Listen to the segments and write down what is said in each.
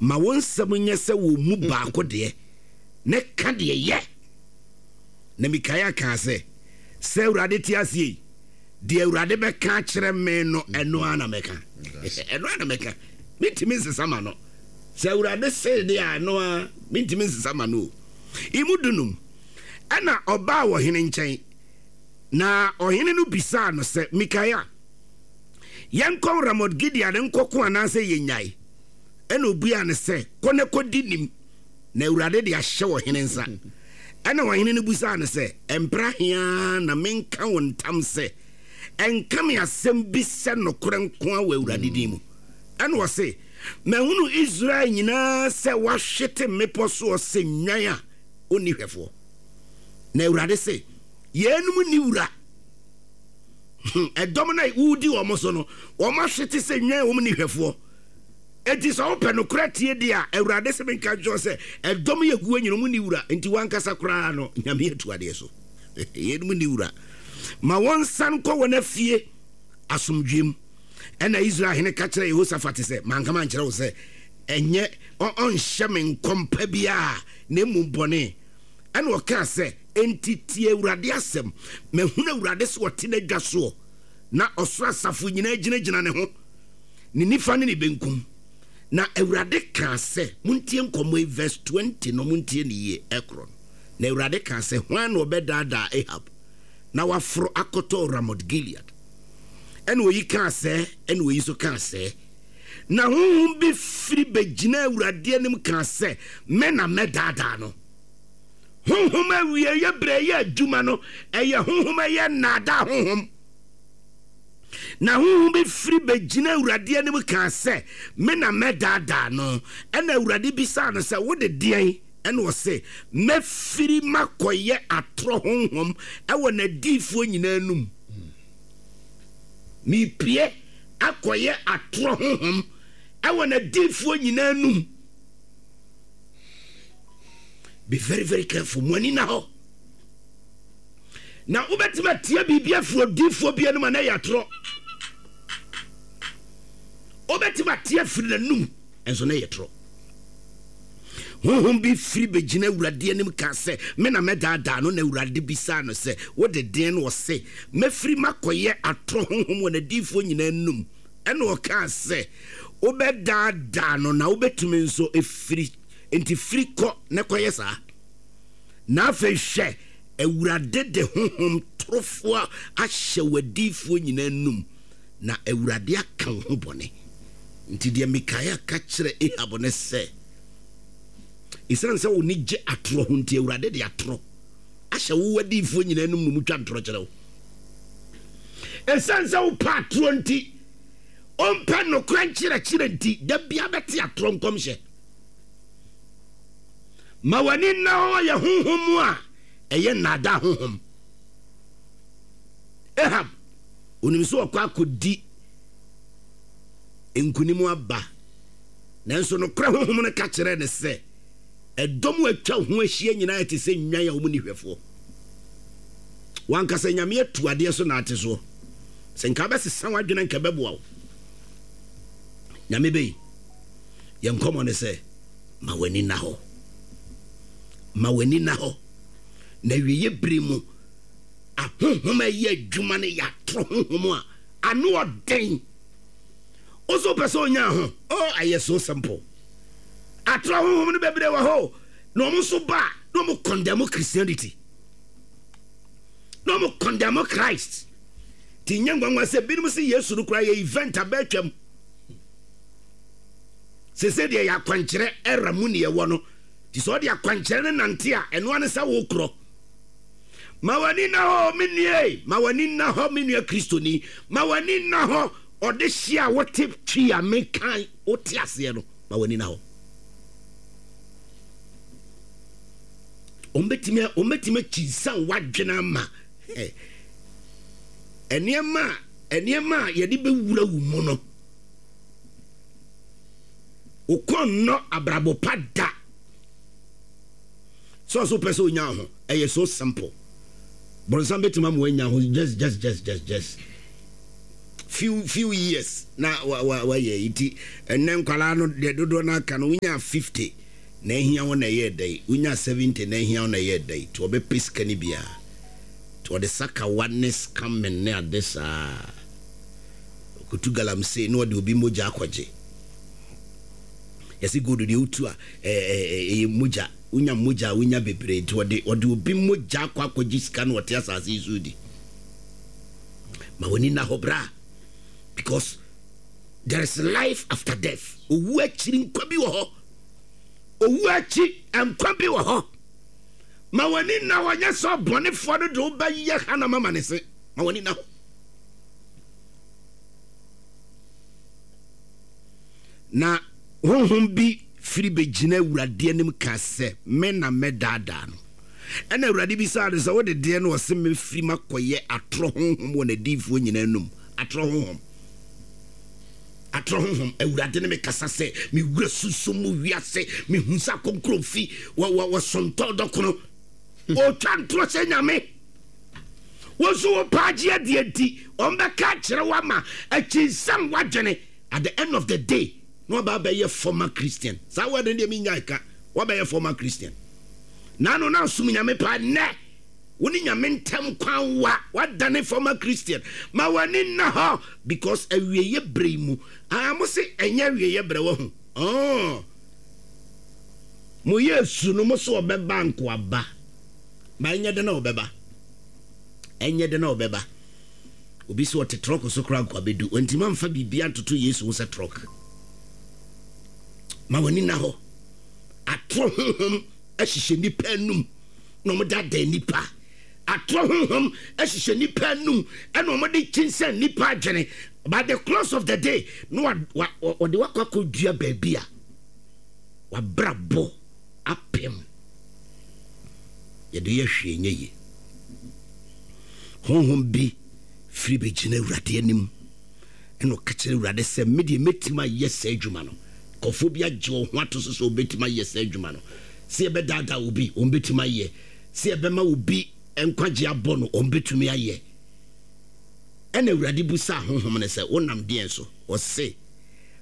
Ma wo nsɛm nyɛ sɛ wɔn mu baako deɛ, na ka deɛ yɛ. Na Mikaia kaa sɛ, Sɛ Awurade te aseɛ yi, deɛ Awurade bɛka akyerɛ me no, ɛno ara na mɛka. Ɛno ara na mɛka. Mentumi nsesa ma no. Sɛ Awurade see deɛ a, ɛno ara, mentumi nsesa ma no o. Emu dunum. Ɛnna ɔbaa ɔhene nkyɛn, na ɔhene no bisaa no sɛ, Mikaia, yɛnkɔ Ramot-Gilead nkɔko anaasɛ yɛnnyae? Ɛnna obuaa no sɛ, Kɔ na kɔdi nim, na Awurade de ahyɛ ɔhene nsa. Ɛnna ɔhene no bisaa no sɛ, Mprɛ ahe ara na menka wo ntam sɛ, nka me asɛm bi sɛ nokorɛ nko ara wɔ Awurade din mu? Ɛnna ɔse, Mahunu Israel nyinaa sɛ wɔahwete mmepɔ soɔ sɛ nnwan a ɔnni hwɛfoɔ. Na Awurade se, Yeinom nni wura. Hmm, ɛdɔm no a woredi wɔn so no, wɔahwete sɛ nnwan a wɔnni hwɛfoɔ. Enti sɛ wopɛ nokorɛ tie deɛ a, Awurade se menka nkyerɛ wo sɛ, ɛdɔm yɛ guo nyina, wɔnni wura. Enti w'ankasa koraa no, Nyame atu adeɛ so. Yeinom nni wura. Ma wɔnsan nkɔ wɔn afie asomdwoeɛ mu. Ɛnna Israel hene ka kyerɛɛ Yehosafat sɛ, Manka mankyerɛ wo sɛ, ɛnyɛ ɔnhyɛ me nkɔm pa biara, na mmom bɔne? Ɛnna ɔkaa sɛ, Enti tie Awurade asɛm. Mahunu Awurade sɛ ɔte n'adwa soɔ, na ɔsoro asafo nyinaa gyinagyina ne ho, ne nifa ne ne benkum. Na Awurade kaa sɛ, Montie nkɔmmɔ yi, verse 20 no, montie no yie, ɛkorɔ no. Na Awurade kaa sɛ, Hwan na ɔbɛdaadaa Ahab na waforo akɔtɔ Ramot-Gilead? Ɛnna oyi kaa sɛɛ, ɛnna oyi nso kaa sɛɛ. Na honhom bi firi bɛgyinaa Awurade anim kaa sɛ, Me na mɛdaadaa no. Honhom awieeɛ berɛ yɛ adwuma no, ɛyɛ honhom ɛyɛ nnaadaa honhom. Na honhom bi firi bɛgyinaa Awurade anim kaa sɛ, Me na mɛdaadaa no. Ɛnna Awurade bisaa no sɛ, Wode deɛn? Ɛnna ɔse, Mɛfiri makɔyɛ atorɔ honhom wɔ n'adiyifoɔ nyinaa anum. Merepue akɔyɛ atorɔ honhom wɔ n'adiyifoɔ nyinaa anum. Be very very careful. Mo ani na hɔ. Na wobɛtumi atie biribi afiri odiyifoɔ bi anum a na ɛyɛ atorɔ. Wobɛtumi atie afiri n'anum nso na ɛyɛ torɔ. Honhom bi firi bɛgyina Awurade anim kaa sɛ, Me na mɛdaadaa no. Na Awurade bisaa no sɛ, Wode deɛn? Na ɔse, Mɛfiri makɔyɛ atorɔ honhom wɔ n'adiyifoɔ nyinaa anom. Ɛnna ɔkaa sɛ, Wobɛdaadaa no, na wobɛtumi nso firi. Enti firi kɔ na kɔyɛ saa. Na afei hwɛ, Awurade de honhom torofoɔ ahyɛ w'adiyifoɔ nyinaa anom, na Awurade aka wo ho bɔne. Nti deɛ Mikaia ka kyerɛɛ Ahab ne sɛ, Esiane sɛ w'ani gye atorɔ ho nti, Awurade de atorɔ ahyɛ wo w'adiyifoɔ nyinaa anom na wɔtwa ntorɔ kyerɛ wo. Esiane sɛ wopɛ atorɔ nti, wompɛ nokorɛ nkyerɛkyerɛ nti, da biara bɛte atorɔ nkɔmhyɛ. Ma w'ani nna hɔ yɛ honhom mu a ɛyɛ nnaadaa honhom. Ahab, onim sɛ ɔkɔ akɔdi nkonim aba. Nanso nokorɛ honhom no ka kyerɛɛ no sɛ, Ɛdɔm a atwa wo ho ahyia nyinaa te sɛ nnwan a wɔnni hwɛfoɔ. W'ankasa Nyame atu adeɛ so na ate soɔ. Sɛ nka wobɛsesa w'adwene anka ɛbɛboa wo. Nyame bɛyi. Yɛn nkɔmmɔ ne sɛ, ma w'ani nna hɔ. Ma w'ani nna hɔ. Na awieeɛ bere mu, ahonhom a ɛyɛ adwuma no yɛ atoro honhom a ano ɔden. Wo nso wopɛ sɛ onya ho? Oh, ɛyɛ so simple. Atorɔ honhom no bebree wɔ hɔ na wɔn nso ba a na wɔn condemn Christianity. Na wɔn condemn Christ. Ti nyɛ nwanwa sɛ binom sɛ Yesu no koraa yɛ event abɛtwam. Sese deɛ yɛ akwankyerɛ era mu ne yɛwɔ no. Ti sɛ ɔde akwankyerɛ no nante a ɛno ane sɛ wokorɔ. Ma w'ani nna hɔ, me nua ei, ma w'ani nna hɔ, me nua Kristoni, ma w'ani nna hɔ, ɔdehyeɛ a wote twi a meka wote aseɛ no, ma w'ani nna hɔ. Wɔbɛtumi wɔbɛtumi akyinsan w'adwene ama nneɛma a nneɛma a yɛde bɛwura wo mu no. Wokɔ nnɔ abrabɔ pa da. Sɛ ɔso pɛ sɛ onya ho, ɛyɛ so simple. Bɔnsam bɛtumi ama wanya ho just just just just just. Few few years na wa wa wayɛ nti ɛnnɛ nkwadaa no deɛ dodoɔ no aka no wonya 50 na ahia wo na ɛyɛ dɛn, wonya 70 na ahia wo na ɛyɛ dɛn, nti wɔbɛpɛ sika no biara nti wɔde sakawa ne scamming ne ade saa ɔkɔtu galamsey na ɔde obi mogya akɔgye. Yɛse gold deɛ wotu a ɛyɛ mogya, wonya mogya a wonya bebree nti ɔde ɔde obi mogya akɔ akɔgye sika na ɔte asase yi so di. Ma w'ani nna hɔ bra because there is life after death. Owu akyiri nkwa bi wɔ hɔ. Owu akyi nkwa bi wɔ hɔ. Ma w'ani nna hɔ nyɛ sɛ ɔbɔnefoɔ no de wobɛyɛ hanam ama ne se. Ma w'ani nna hɔ. Na honhom bi firi bɛgyina Awurade anim ka sɛ, Me na mɛdaadaa no. Ɛnna Awurade bisaa no sɛ, Wode deɛn na ɔse mɛfiri makɔyɛ atorɔ honhom wɔ n'adiyifoɔ nyinaa anum? Atorɔ honhom. Atorɔ honhom. Awurade ne me kasa sɛ, Me wura sunsum mu wiase, mehu sɛ akɔnkorɔ fi wɔ wɔ wɔsontɔn dɔkono. Ɔretwa ntorɔ sɛ Nyame. Wo nso wo paagye adeɛ nti, wɔbɛka akyerɛ wo ama akyinsam w'adwene. At the end of the day, na waba abɛyɛ former Christian. Saa word no deɛ menyae ka. Wabɛyɛ former Christian. Naano na asom Nyame paa, nnɛ wo ne Nyame ntam kwan wa, wadane former Christian. Ma w'ani nna hɔ because awieɛ berɛ yi mu, ah mo se ɛnyɛ awieɛ berɛ wahu. Oh. Mo yɛ su no mo se ɔbɛba nkoaba. Ma ɛnyɛ dɛn na ɔbɛba. Ɛnyɛ dɛn na ɔbɛba. Obi se ɔte trɔk so koraa nkoa bɛdu. Wantumi amfa biribiara ntoto Yesu ho sɛ trɔk. Ma w'ani nna hɔ. Atorɔ honhom ahyehyɛ nnipa anum na wɔdaadaa nnipa. Atorɔ honhom ahyehyɛ nnipa anum na wɔde kyinsɛn nnipa adwene. By the close of the day, na wɔde wakɔ akɔdua baabi a wabrabɔ apem. Yɛde yɛ hwee nyɛ yie. Honhom bi firi bɛgyina Awurade anim. Ɛnna ɔka kyerɛɛ Awurade sɛ, Me deɛ, mɛtumi ayɛ saa adwuma no. Nkurɔfoɔ bi agye wɔn ho ato so sɛ wɔbɛtumi ayɛ saa adwuma no. Sɛ yɛbɛdaadaa obi, wɔbɛtumi ayɛ. Sɛ yɛbɛma obi nkwagyeɛ abɔ no, wɔbɛtumi ayɛ. Ɛnna Awurade bisaa honhom no sɛ, Wonam deɛn so? Ɔse,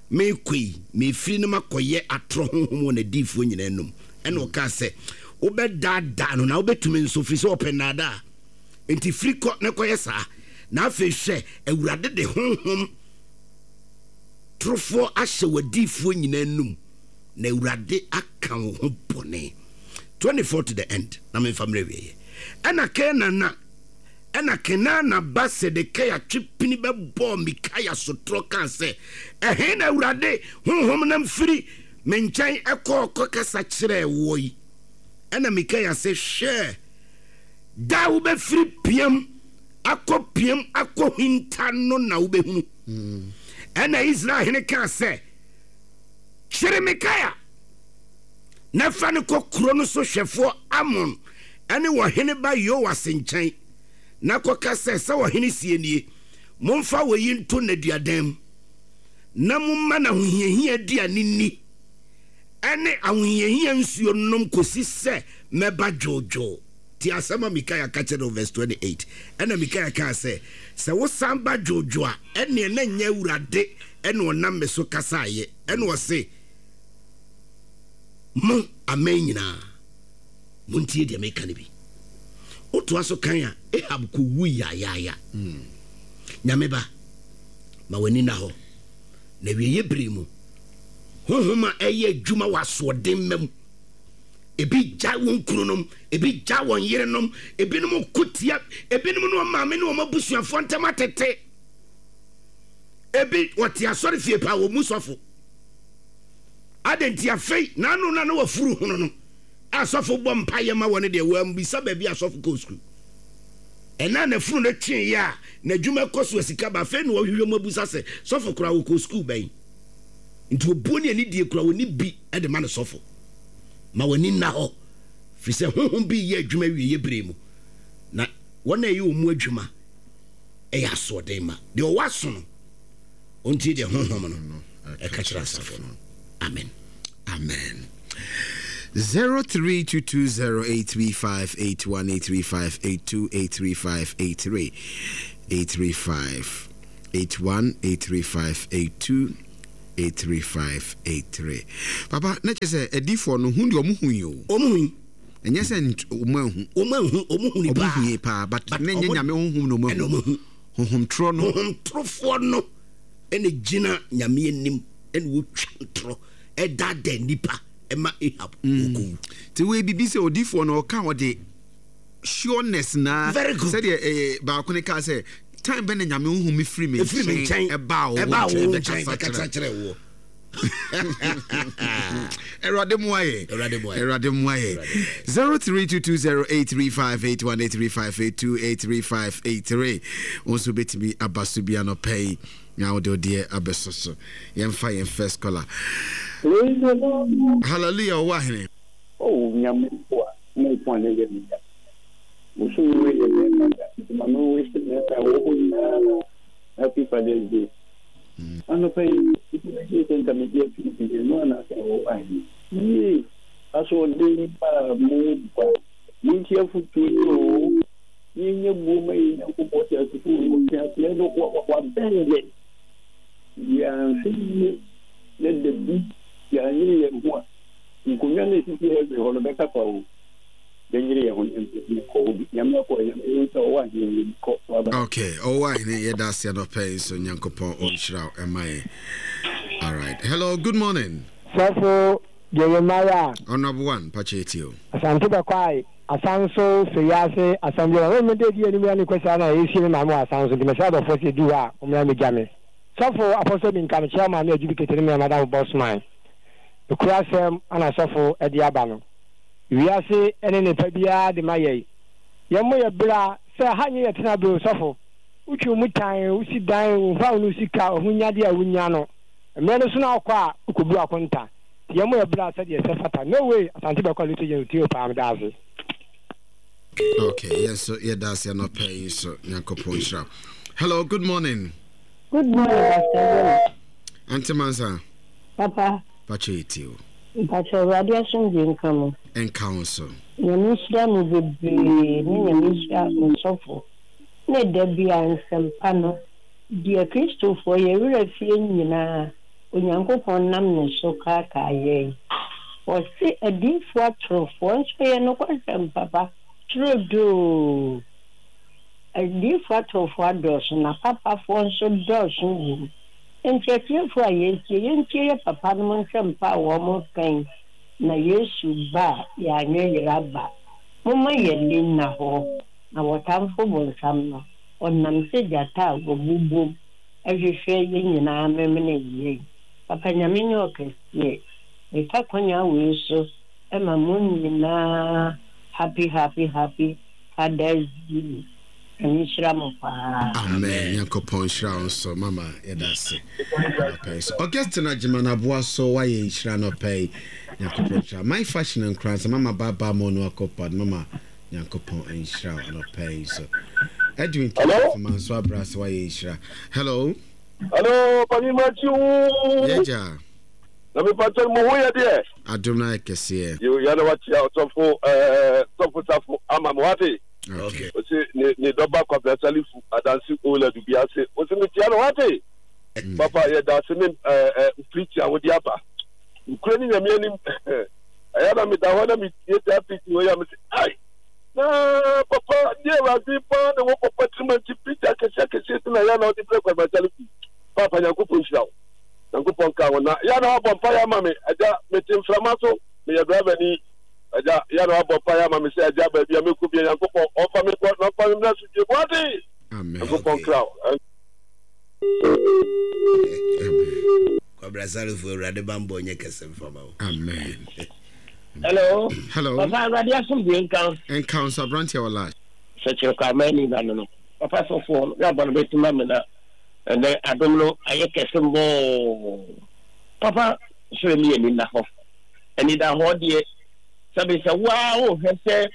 Merekɔ yi, merefiri no makɔyɛ atorɔ honhom wɔ n'adiyifoɔ nyinaa anom. Ɛnna ɔkaa sɛ, Wobɛdaadaa no, na wobɛtumi nso, ɛfiri sɛ ɔpɛ nnaadaa. Enti firi kɔ na kɔyɛ saa. Na afei hwɛ, Awurade de honhom torofoɔ ahyɛ w'adiyifoɔ nyinaa anum, na Awurade aka wo ho bɔne. 24 to the end, na memfa mmerɛ awieɛ. Ɛna Kenaana, ɛna Kenaana ba Sedekia twe pini bɛbɔɔ Mikaia sotorɔ kaa sɛ, Ɛhe na Awurade honhom nam firi me nkyɛn kɔɔ kɔkasa kyerɛɛ woɔ yi? Ɛna Mikaia se, Hwɛ! Da a wobɛfiri piam akɔ piam akɔhinta no na wobɛhunu. Ɛnna Israel hene kaa sɛ, Kyere Mikaia na fa no kɔ kuro no so hwɛfoɔ Amon ne ɔhene ba Yoas nkyɛn, na kɔka sɛ, 'Sɛ ɔhene seɛ nie, Momfa oyi nto nneduadan mu, na momma no ahohiahia aduane nni ne ahohiahia nsuo nnom kɔsi sɛ mɛba dwoodwoo. Tie asɛm a Mikaia ka kyerɛɛ no wɔ verse 28. Ɛnna Mikaia kaa sɛ, Sɛ wosan ba dwoodwoo a, ɛnneɛ na ɛnyɛ Awurade na ɔnam me so kasaeɛ. Ɛnna ɔse, Mo, aman nyinaa, montie deɛ meka no bi. Wotoa so kan a, Ahab kɔwui yaayaaya. Nyame ba, ma w'ani nna hɔ, na awieeɛ berɛ mu, honhom a ɛyɛ adwuma wɔ asoɔden mma mu, Ebi gyae wɔn kununom, ebi gyae wɔn yerenom, ebinom ko tia ebinom ne wɔn maame ne wɔn abusuafoɔ ntam atete. Ebi wɔte asɔre fie paa wɔn mu sɔfo. Adɛn nti afei n'ano na na wafuru hono no a sɔfo bɔ mpaeɛ ma wɔn deɛ wɔammisa baabi a sɔfo kɔɔ sukuu. Ɛna n'afunu no tweeɛ a n'adwuma kɔ so a sika ba afei na wɔhwehwɛ mu abusa sɛ sɔfo koraa wɔkɔɔ sukuu bɛn. Nti obuo ne anidie koraa wɔnni bi de ma no sɔfo. Ma w'ani nna hɔ, firi sɛ honhom bi reyɛ adwuma awieeɛ berɛ mu, na wɔn a ɛyɛ wɔn mu adwuma yɛ asoɔden ma. Deɛ ɔwɔ aso no, ɔntie deɛ honhom no ɛka kyerɛ asafo no. Amen. Amen. 0322083581 83582 83583 835. 81 835 82 835 83. Papa, na kyerɛ sɛ adiifoɔ no hu deɛ ɔmo hu yi o. Ɔmo hu yi. Ɛnyɛ sɛ ɔmo anhu. Ɔmo anhu, ɔmo hu ni paa. Ɔmo hu yi paa, but na ɛnyɛ Nyame honhom na ɔmo ahu. Honhom torɔ no. Honhom torofoɔ no ɛna gyina Nyame anim ɛna wɔtwa ntorɔ ɛdaadaa nnipa ɛma Ahab ɔkɔwu. Nti wei bibi sɛ odiifoɔ no ɔka ɔde sureness na sɛdeɛ eh, baako no kaa sɛ time bɛ na Nyame honhom firi me nkyɛn ɛbaa wo nkyɛn bɛkasa kyerɛ woɔ. Awurade mmoa yɛ. Awurade mmoa yɛ. 03220835818358283583 wo nso bɛtumi aba so bi anɔpa yi na wode wodeɛ abɛso so. Yɛmfa yɛn first caller. Hallelujah, ɔwɔ ahene. Oh Nyame boa mo nko a na ɛyɛ me ya. Bosome wei yɛ mɛɛma da nti ma me wish mɛɛma a ɛwɔ hɔ nyinaa happy father's day. Anɔpa yi, nnipa bɛdwene sɛ nka megye atum nti ɛno anaasɛ ɛwɔ ahe? Yie! Asoɔden a mo ba, montie afotuo yi oo, yɛnyɛ buo ma yɛn Nyankopɔn teasefoɔ yi, ɔteaseɛ no wabɛn yɛn. Yɛanhwɛ yie na da bi yɛanyere yɛn ho a, nkonnwa no a ɛsisi heaven hɔ no bɛka kwa oo. Yɛnyere yɛn ho nkɔ hɔ bi. Nyame akɔ Nyame yɛn sɛ ɔwɔ ahene yɛn kɔ waba. Okay, ɔwɔ ahene yɛda ase anɔpa yi nso Nyankopɔn ɔnhyira wo ɛma yɛn. All right. Hello, good morning. Sɔfo Jeremiah. Honorable one, pakyɛ yɛtie o. Asante Bɛkwae, Asanso, Soyiase, Assembly Hall. Wei mede di anim ne Kwasiada na yɛresie me maame wɔ Asanso nti mesrɛ adɔfoɔ sɛ ɛduru hɔ a mommra mmɛgya me. Sɔfo Apostle Minka mekyia wo maame Adjubikete ne me madamfo Bossman. Nokorɛ asɛm na sɔfo de aba no. Wiase ne nnepa biara de ma yɛn. Yɛmmɔ yɛ bra sɛ ha nyɛ yɛ tenaberɛ o sɔfo. Wotwe wo mu tan, wosi dan, womfa wo ne wo sika, ahonyadeɛ a wonya no. Mmerɛ no so na wokɔ a, wokɔbu akonta. Nti yɛmmɔ yɛ bra sɛdeɛ ɛsɛ fata. No way! Asante bɛkɔ Little General tie o paa meda ase. Okay, yɛn nso yɛda ase anɔpa yi nso Nyankopɔn nhyira. Hello, good morning. Good morning, Pastor Jonah. Auntie Mansa. Papa. Pacho yɛtie o. Mpacho Awurade asomdwie nka mo. Nka wo nso. Nyame nhyira mo bebree ne Nyame nhyira osɔfo ne da bia nsɛmpa no deɛ kristofoɔ yɛ werɛ fie nyinaa Onyankopɔn nam ne so kaakaa yɛn ɔse adiyifoɔ atorofoɔ nso yɛ nokwasɛm papa turodoo adiyifoɔ atorofoɔ adɔɔso na papafoɔ nso dɔɔso wom Enti atiefo a yɛretie, yɛntie yɛ papanom nsɛmpa a wɔreka yi, na Yesu ba a, yɛanyɛ yera ba. Momma yɛn ani nna hɔ, na wɔtamfo bonsam no, ɔnam sɛ gyata a wabobom hwehwɛ yɛn nyinaa amemene yɛn. Papa Nyame nyɛ ɔkɛseɛ. Mefa kwanya wei so ma mo nyinaa happy happy happy Father's Day. Nyame nhyira mo paa. Amen Nyankopɔn nhyira wo nso mama yɛda ase anɔpa yi so Augustine Agyeman aboa so wayɛ nhyira anɔpa yi Nyankopɔn nhyira My Fashion Nkoransa mama baba mo no akɔpad mama Nyankopɔn nhyira wo anɔpa yi so Edwin Hello Kefuma nso abra ase wayɛ nhyira Hello Hello Panin Matthew Yɛgya Na me pakyɛ mo ho yɛ deɛ Adom no ayɛ kɛseɛ Yo yɛna wakyia ɔsɔfo ɛɛ sɔfo safo ama mo wate Okay. Ose ne ne dɔba Kwabena Salifu adanse Ola Dubi ase. Ose metia no wate. Mm. Papa yɛ da ase ne ɛɛ eh, preach a wode aba. Nkure ne nyame anim. Ɛyɛ na meda hɔ na metie saa preach wɔ yi a mese ai na papa deɛ awurade paa na wɔ papa tirim nti preach akɛseɛ akɛseɛ si na yɛ na wode brɛ Kwabena Salifu. Papa Nyankopɔn nhyira wo. Nyankopɔn ka ho na yɛ na wabɔ mpa yɛ ama me agya mete mframa so meyɛ driver ni. Agya, yɛ na wabɔ mpaeɛ ama me sɛ, Agya, baabi a mɛkɔ bia, Nyankopɔn ɔmfa me nkɔ na ɔmfa me mmra asomdwoeɛ mu. Wate? Amen. Nyankopɔn nkra wo. Kwabena Salifo, Awurade bammɔ nyɛ kɛse mfa ma wo. Amen. Hello. Hello. Papa Awurade asomdwoe nka wo. Nka wo nso aberanteɛ wɔ lash. Sɛkyerɛ kɔ amani ba no no. Papa sɔfoɔ no yɛ abɔ no bɛti ma me na ɛnɛ adom no ayɛ kɛse mbɔɔ. Papa srɛ mi ani nna hɔ. Anidahɔ deɛ, sɛbe sɛ wo ara wohwɛ sɛ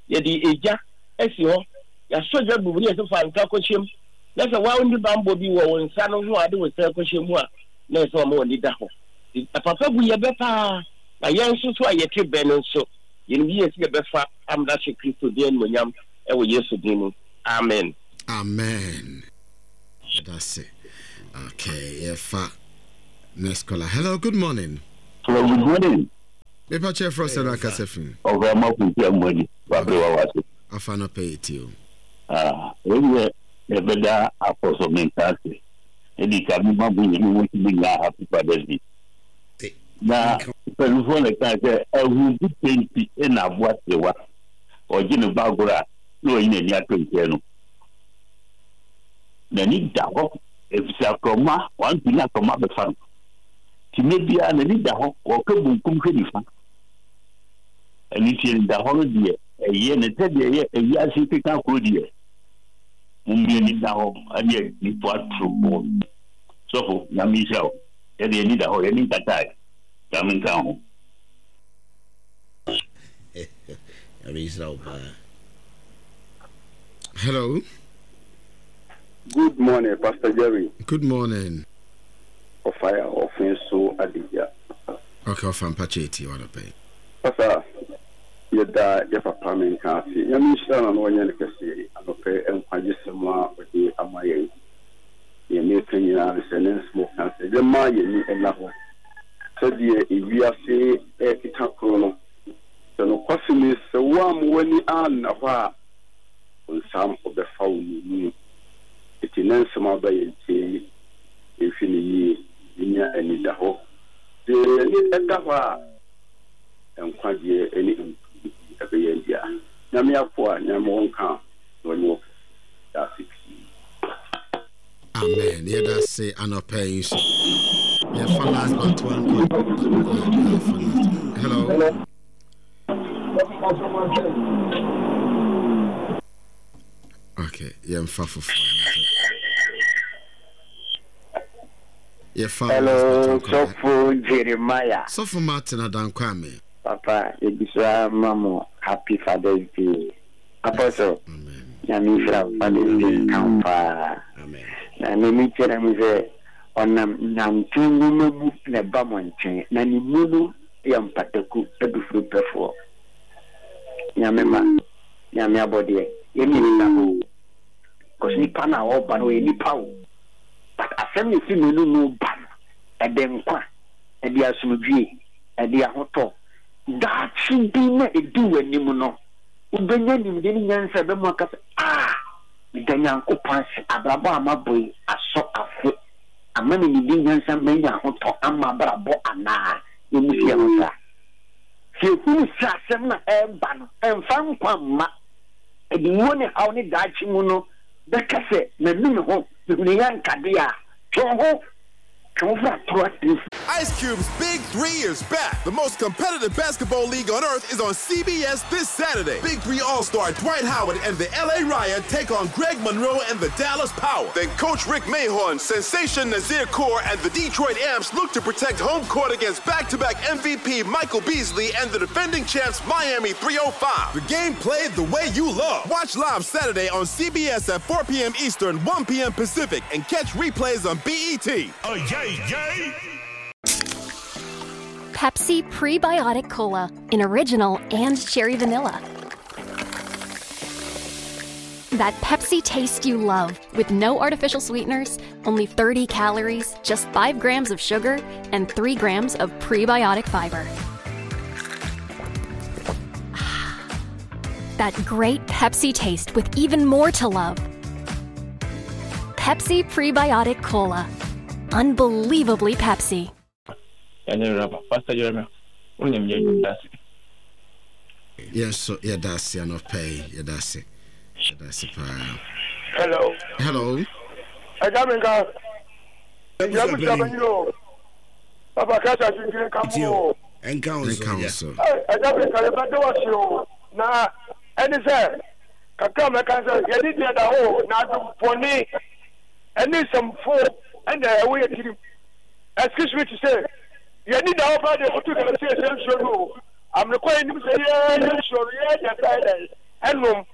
yɛde egya asi hɔ, yɛasɔ gya gu mu ne yɛsɛ fa nsa kɔhyɛ mu, na sɛ wo ara wonni bammɔ bi wɔ wo nsa no ho a wode wo nsa rekɔhyɛ mu a, na ɛsɛ sɛ wɔma w'ani da hɔ. Nti papa bu yɛ bɛ paa, na yɛn nso so a yɛte bɛ no nso, yɛnim yie sɛ yɛbɛfa amena ahyɛ Kristo din animuonyam wɔ Yesu din mu. Amen. Amen. Yɛda ase. Okay, yɛfa next caller. Hello, good morning. Hello, good morning. Mepa kyɛ frɛ sɛ no akasa fi. Ɔfra ma kunti amuani wabere wa wase. Afa no pɛ yɛ o. Ah, ɛyɛ yɛbɛda akɔ so menka ase. Ɛdi ka me ma mo nyɛ mo mo nyinaa happy Father's Day. Na mpanimfoɔ na ɛka sɛ ahu bi penti na aboa serewa. Ɔgye ne ba agorɔ a na wayi n'ani ato nkyɛn no. N'ani da hɔ efisɛ akorɔma wantumi ne akorɔma abɛfa no. Nti mmerɛ biara n'ani da hɔ, ɔka bunkum hwɛ nifa. Ɛno nti anidahɔ no deɛ ɛyɛ ne sɛ deɛ ɛyɛ ewiase keka koro deɛ mommie ani da hɔ ɛne adifo atorofoɔ no. Sɔfo, Nyame nhyira wo. Yɛde yɛn ani da hɔ, yɛn ani nkatae. Nyame nka ho. Nyame nhyira wo paa. Hello. Good morning, Pastor Jerry. Good morning. Ɔfae a ɔfe so adegya. Okay, ɔfa mpakyɛ eti ɔdɔ pɛn. Pastor, yɛda yɛ papa menka ase. Nyame nhyira no na ɔnyɛ no kɛse anɔpɛ nkwagye sɛm a ɔde ama yɛn. Deɛ meka nyinaa ne sɛ ne nsɛm ɔka sɛ yɛma yɛn ani nna hɔ sɛdeɛ ewiase ɛkeka koro no. Sɛ nokwasɛm ni sɛ woamma w'ani anna hɔ a, Ɔbonsam ɔbɛfa wo nnommum. Enti nnɛ nsɛm a aba yɛn nkyɛn yi, yɛnhwɛ no yie, yɛnnya anidahɔ. Sɛ yɛn ani da hɔ a, nkwagyeɛ ne nkonimdie ɛbɛyɛ yɛn dea. Nyame akoa, Nyame wɔ nka na ɔnyɛ wo kɛse. Yɛda ase pii. Amen. Yɛda ase anɔpa yi nso. Yɛfa last but one call. Yɛfa last. Hello. Okay, yɛmfa foforɔ. Yɛfa Hello, Sɔfo Jeremiah. Sɔfo Martin Adankwame. Papa, yɛgu so ara ma mo happy Father's Day. Apostle, Nyame nhyira wo, Father's Day nka wo paa. Na n'ani kyerɛ mu sɛ ɔnam nyanten nwoma mu na ɛba mo nkyɛn, na ne mu no yɛ mpataku adufudepɛfoɔ. Nyame mma, Nyame abɔdeɛ, yɛn mmienu da hɔ o. Because nipa no a ɔba no ɔyɛ nipa o. But asɛm na ɛfiri n'anomu ba no, ɛde nkwa, ɛde asomdwie, ɛde ahotɔ. Daakye bi na ɛdi w'anim no, wobɛnya nimdeɛ ne nyansa a ɛbɛma aka sɛ, Ah! Meda Nyankopɔn ase, abrabɔ a mabɔ yi asɔ afe. Ama me nimdeɛ nyansa manya ahotɔ ama abrabɔ anaa? Yɛmmisa yɛn ho saa. Sɛ yɛhunu sɛ asɛm no a ɛreba no ɛmfa nkwa mma, ɛde wuo ne haw ne daakye mu no bɛka sɛ, Manu me ho, mehunu yɛ anka deɛ a, twe wo ho, twe wo ho firi atorɔ asɛm Ice Cube's Big 3 is back. The most competitive basketball league on earth is on CBS this Saturday. Big 3 All-Star Dwight Howard and the LA Riot take on Greg Monroe and the Dallas Power. Then Coach Rick Mahorn, Sensation Nazir Kaur, and the Detroit Amps look to protect home court against back-to-back MVP Michael Beasley and the defending champs Miami 305. The game played the way you love. Watch live Saturday on CBS at 4 p.m. Eastern, 1 p.m. Pacific, and catch replays on BET. Oh, yay, yay! Pepsi Prebiotic Cola in original and cherry vanilla. That Pepsi taste you love with no artificial sweeteners, only 30 calories, just 5 grams of sugar, and 3 grams of prebiotic fiber. That great Pepsi taste with even more to love. Pepsi Prebiotic Cola. Unbelievably Pepsi. Yɛn nso yɛda ase anɔpa yi yɛda ase yɛda ase paa. Hello. Hello. Ɛgya mi nka. Ɛgya mi nka bɛnyi o. Papa kasa titi nka mu o. Nka wo so Nka wo so. Ɛgya mi nka yɛ bɛ de wa si o. Na ɛni sɛ kakra mɛka sɛ yɛde deɛ da hɔ na adwempɔne ɛne nsɛmfo ɛna ɛwɔ yɛ tirim. Excuse me to say, yɛn ani da hɔ paa deɛ koto galamsey ɛsɛ nsuo no o. Amene kɔ yɛn nim sɛ yɛ yɛ nsuo no yɛ deɛ nsa yɛ dɛn ɛnom.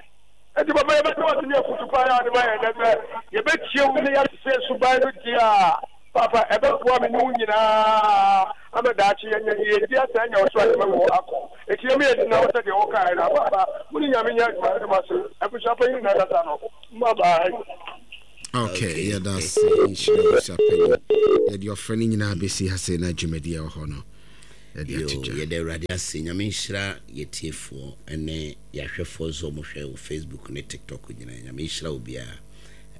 Ɛti papa yɛbɛtɛ wase ne afutu paa yɛ ade ma yɛn dɛ sɛ yɛbɛtie wo ne yɛate sɛ suban no deɛ a papa ɛbɛboa me ne wo nyinaa ama daakye yɛnya yɛdi asa anya ɔsoro ahema mu akɔ. Ɛti yɛma yɛdi na wo sɛ deɛ wokaeɛ no papa mo ne Nyame nyɛ adwuma mede mo ase abusua panyin na ɛkasa no. Bye bye. Okay, yɛda ase nhyira abusuapanyin. Yɛde ɔfrɛ no nyinaa bɛsi ha sei na dwumadi a ɛwɔ hɔ no yɛde ato dwa. Yɛda Awurade ase. Nyame nhyira yɛtiefoɔ ne yɛahwɛfoɔ nso ɔmo hwɛ wɔ Facebook ne TikTok nyinaa. Nyame nhyira obiara.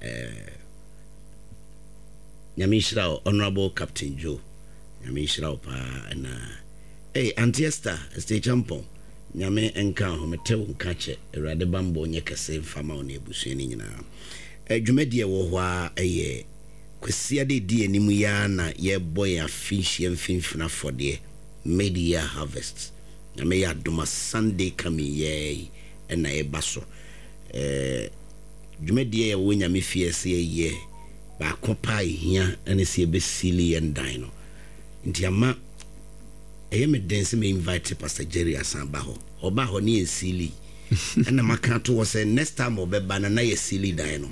Eh, Nyame nhyira wo Honorable Captain Joe. Nyame nhyira wo paa ɛna Hey, Auntie Esther, Esther Champon. Nyame nka ho, mete wo nka kyɛ. Awurade bammɔ nyɛ kɛse mfa ma wo ne abusua no nyinaa. Eh, dwumadi a ɛwɔ hɔ ara yɛ Kwasiada a ɛdi anim yi ara na yɛrebɔ yɛn afe nhyia mfimfini afɔdeɛ, Mid Year Harvest. Nyame yɛ adom a Sunday coming yi ara yi na ɛreba so. Eh, dwumadie a ɛwɔ Nyame fie a ɛsɛ yɛyɛ baako paa a ɛhia ne sɛ yɛbɛsiili yɛn dan no. Nti ama ɛyɛ me den sɛ me invite Pastor Jerry asan aba hɔ. Ɔbaa hɔ ne yɛn siili. Ɛna maka ato hɔ sɛ next time ɔbɛba no na yɛ siili dan no.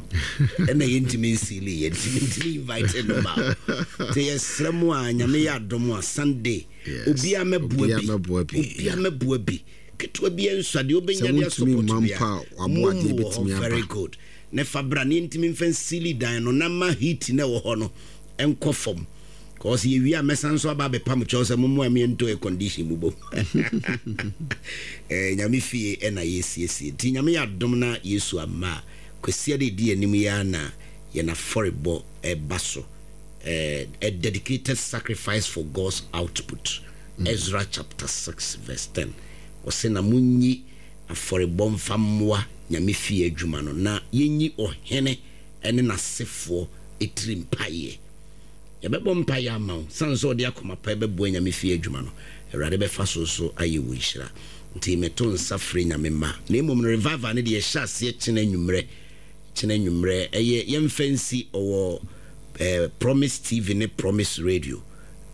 Ɛna yɛntumi nsiili yɛ nti mentumi invite no ma. Nti yɛsrɛ mo a Nyame yɛ adom a Sunday obiara mɛboa bi. Obiara mɛboa bi. Ketewa bi nsua deɛ wobɛnya de asopɔt bia. Momu wɔ hɔ very good. Ne fa bra ne yɛntumi mfa nsiili dan no na ma heat na ɛwɔ hɔ no nkɔ fam. Cause yɛwie a mɛsan nso aba abɛpam kyɛw sɛ mommoa me yɛntɔ air condition mu bom. Eh, Nyame fie ɛna yɛsiesie. Nti Nyame yɛ adom na Yesu amma a, Kwasiada ɛdi anim yi ara na yɛn afɔrebɔ ɛba so. Eh, a dedicated sacrifice for God's output. Ezra chapter 6 verse 10. Ɔse na monyi afɔrebɔ mfa mmoa Nyame fie adwuma no, na yɛnyi ɔhene ne n'asefoɔ tiri mpaeɛ. Yɛbɛbɔ mpaeɛ ama wo, sane sɛ ɔde akoma pa bɛboa Nyame fie adwuma no, Awurade bɛfa so nso ayɛ wo nhyira. Nti meto nsa frɛ Nyame mma. Na mmom no revival no deɛ yɛhyɛ aseɛ kyena anwummerɛ, kyena anwummerɛ, ɛyɛ yɛmfa nsi ɔwɔ eh, Promise TV ne Promise Radio,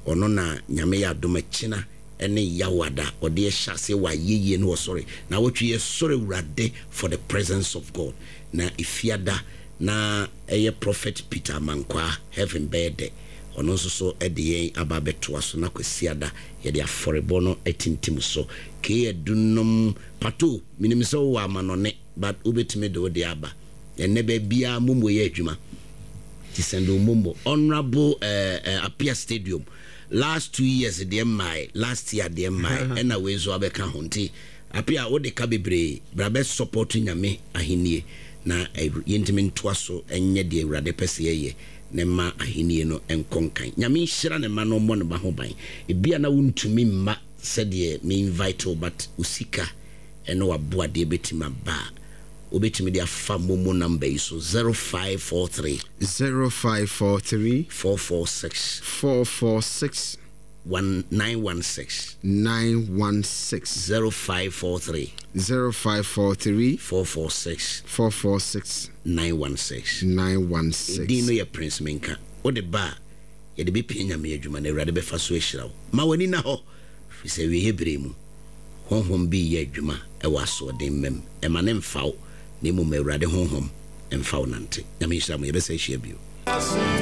ɔno na Nyame yɛ adom a kyena ne Yawada ɔde ɛhyɛ aseɛ wɔ ayɛyie ne ɔsɔre. Nawɔtwe yɛsɔre Awurade for the presence of God. Na Efiada na ɛyɛ Prophet Peter Amankwaa, Heaven bɛyɛ dɛ, ɔno nso so de yɛn aba abɛtoa so na Kwasiada yɛde afɔrebɔ no atintim so. Kay Adunom, Pato, menim sɛ wowɔ amanɔne but wobɛtumi de wo deɛ aba. Ɛnnɛ baabiara momo yɛ adwuma nti send wo momo. Honourable eh, eh, Appiah Stadium, last 2 years deɛ mmae, last year deɛ mmae, ɛna wei nso abɛka ho nti Appiah wode ka bebree, bra bɛ support Nyame ahennie na yɛntumi ntoa so nyɛ deɛ Awurade pɛ sɛ yɛyɛ na ɛma ahennie no nkɔ nkan. Nyame nhyira ne mma na ɔmmɔ ne ba ho ban. Ebia na wontumi mma sɛdeɛ me invite wo but wo sika ne w'aboadeɛ bɛtumi aba a, wobɛtumi de afa momo number yi so, 0543. 0543. 446. 446. 1 916. 916. 0543. 0543. 446. 446. 916. 916. Edin no yɛ Prince Menka. Wode ba a, yɛde bɛpia Nyame adwuma na Awurade bɛfa so ahyira wo. Ma w'ani nna hɔ, firi sɛ awieeɛ berɛ mu, Honhom bi reyɛ adwuma wɔ asoɔden mma mu. Ɛma no mfa wo, na mmom ma Awurade Honhom mfa wo nante. Nyame nhyira mo. Yɛbɛsan ahyia bio.